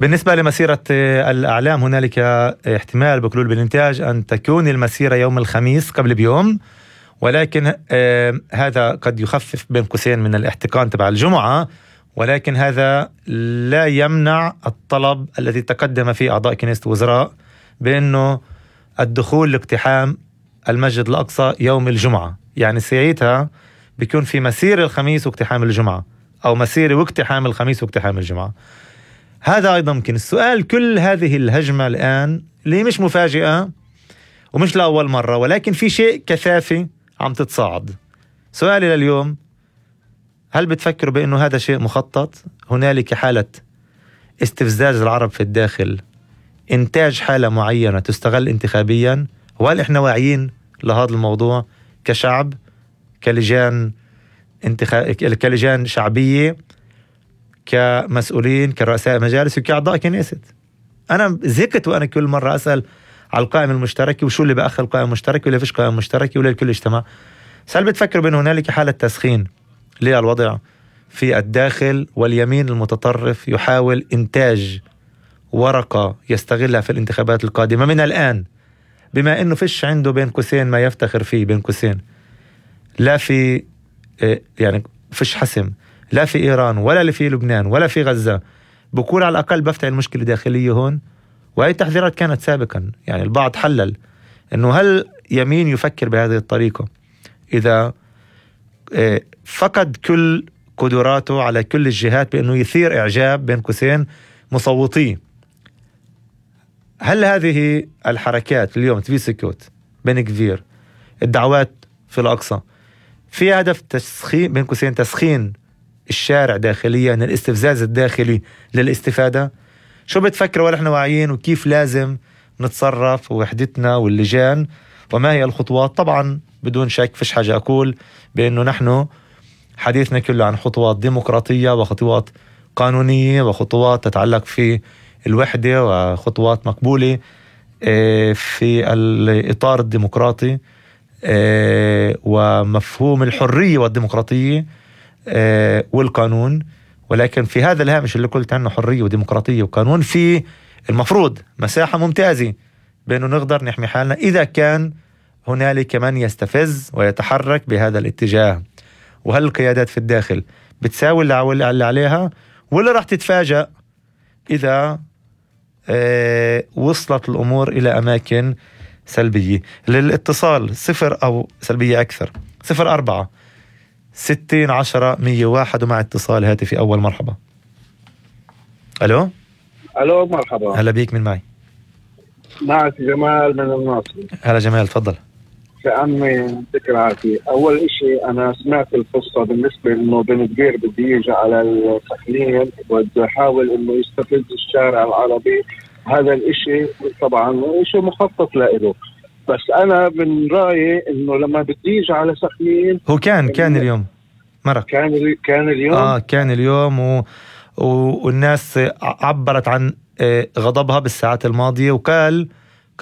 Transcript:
بالنسبة لمسيرة الأعلام هنالك احتمال بكلول بالإنتاج أن تكون المسيرة يوم الخميس قبل بيوم، ولكن هذا قد يخفف بين قوسين من الاحتقان تبع الجمعة، ولكن هذا لا يمنع الطلب الذي تقدم فيه أعضاء كنيسة الوزراء بأنه الدخول لاقتحام المسجد الأقصى يوم الجمعة. يعني ساعتها بيكون في مسيرة الخميس واقتحام الجمعة، أو مسيرة واقتحام الخميس واقتحام الجمعة. هذا أيضا ممكن. السؤال، كل هذه الهجمة الآن اللي مش مفاجئة ومش لأول مرة، ولكن في شيء كثافي عم تتصاعد. سؤالي لليوم، هل بتفكروا بأنه هذا شيء مخطط؟ هنالك حالة استفزاز العرب في الداخل، إنتاج حالة معينة تستغل انتخابيا؟ وهل إحنا واعيين لهذا الموضوع كشعب، كلجان كلجان شعبية، كمسؤولين، كرؤساء مجالس، وكأعضاء كنيسة؟ أنا زهقت وأنا كل مرة أسأل على القائمة المشتركة، وشو اللي بأخر القائمة المشتركة، ولا فيش قائمة مشتركة، ولا الكل اجتمع. هل بتفكروا بأن هنالك حالة تسخين للوضع في الداخل، واليمين المتطرف يحاول إنتاج ورقة يستغلها في الانتخابات القادمة من الآن، بما أنه فيش عنده بين قوسين ما يفتخر فيه، بين قوسين لا في يعني فيش حسم، لا في إيران ولا في لبنان ولا في غزة، بقول على الأقل بفتح المشكلة داخلية هون. وهي التحذيرات كانت سابقا، يعني البعض حلل أنه هل يمين يفكر بهذه الطريقة إذا فقد كل قدراته على كل الجهات بأنه يثير إعجاب بين قوسين مصوتيه؟ هل هذه الحركات اليوم تفيسكوت، بن كفير، الدعوات في الأقصى، في هدف تسخين بين قوسين، تسخين الشارع داخليا، الاستفزاز الداخلي للاستفادة؟ شو بتفكروا ونحن واعيين، وكيف لازم نتصرف، ووحدتنا واللجان، وما هي الخطوات؟ طبعا بدون شك فيش حاجة أقول بأنه نحن حديثنا كله عن خطوات ديمقراطية، وخطوات قانونية، وخطوات تتعلق في الوحدة، وخطوات مقبولة في الإطار الديمقراطي ومفهوم الحرية والديمقراطية والقانون. ولكن في هذا الهامش اللي قلت عنه حرية وديمقراطية وقانون، في المفروض مساحة ممتازة بأنه نقدر نحمي حالنا إذا كان هنالك من يستفز ويتحرك بهذا الاتجاه. وهل القيادات في الداخل بتساوي اللي عليها، ولا راح تتفاجأ إذا وصلت الأمور إلى أماكن سلبية؟ للاتصال 0 أو سلبية أكثر 04 60 10 101، ومع اتصال هاتفي أول. مرحبا. ألو مرحبا. هلا بيك، من معي؟ معك جمال من الناصر. هلا جمال، تفضل. عمي ذكر عافية. أول إشي أنا سمعت القصة بالنسبة إنه بن كفير بده يجي على السخنين وبده يحاول إنه يستفز الشارع العربي. هذا الإشي طبعا إشي مخطط له، بس أنا من رأيي إنه لما بده يجي على سخنين، هو كان اليوم مرة، كان اليوم كان اليوم والناس عبرت عن غضبها بالساعات الماضية، وقال